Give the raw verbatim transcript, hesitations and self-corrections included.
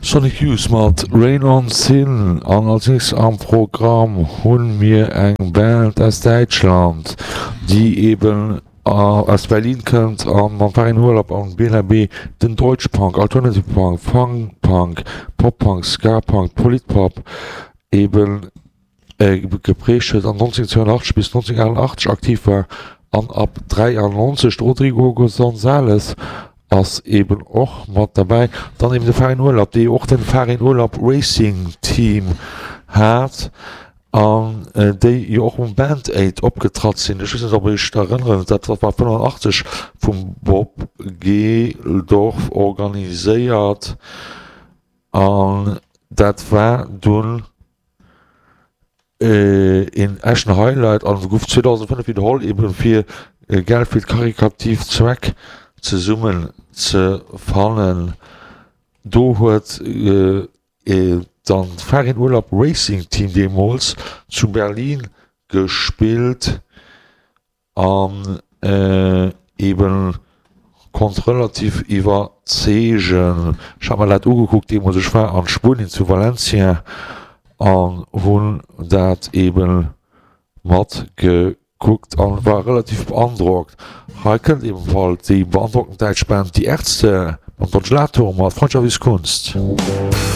Sonic Youth mat Rain on Sin an als nächst am Programm hunn mir eng Band aus Däitschland, déi eben aus Berlin kënnt an mam Farin Urlaub an Bela B den Deutschpunk, Alternative Punk, Funk Punk, Pop Punk, Ska Punk, Politpop eben geprägt huet an neunzehnhundertzweiundachtzeg bis neunzehnhundertachtundachtzeg aktiv war an ab dräiannonzeg. De Rodrigo González ass eben och mat derbäi. Dann eben de Farin Urlaub, dee jo och den Farin Urlaub Racing Team hat an déi jo och um Band Aid opgetratt sinn. Ech weess net, ob Iech erënneren, dat war fënnefundachtzeg vum Bob Geldof organiséiert an dat war dunn een echten Highlight an gouf zweedausendfënnef widderholl, eben fir Geld fir karikativ Zweck zesummen ze fannen. Do huet dann d'Farin Urlaub Racing Team deemools zu Berlin gespillt. An eben konnt relativ iwwerzeegen. Ech hat mer dat ugekuckt deemools, ech war an Spuenien zu Valencia an hunn dat eben mat gekuckt an war relativ beandrockt. Hei kënnt ebenfalls déi beandrockend däitsch Band Die Ärzte mam Don Gelato mat Freundschaft ist Kunst.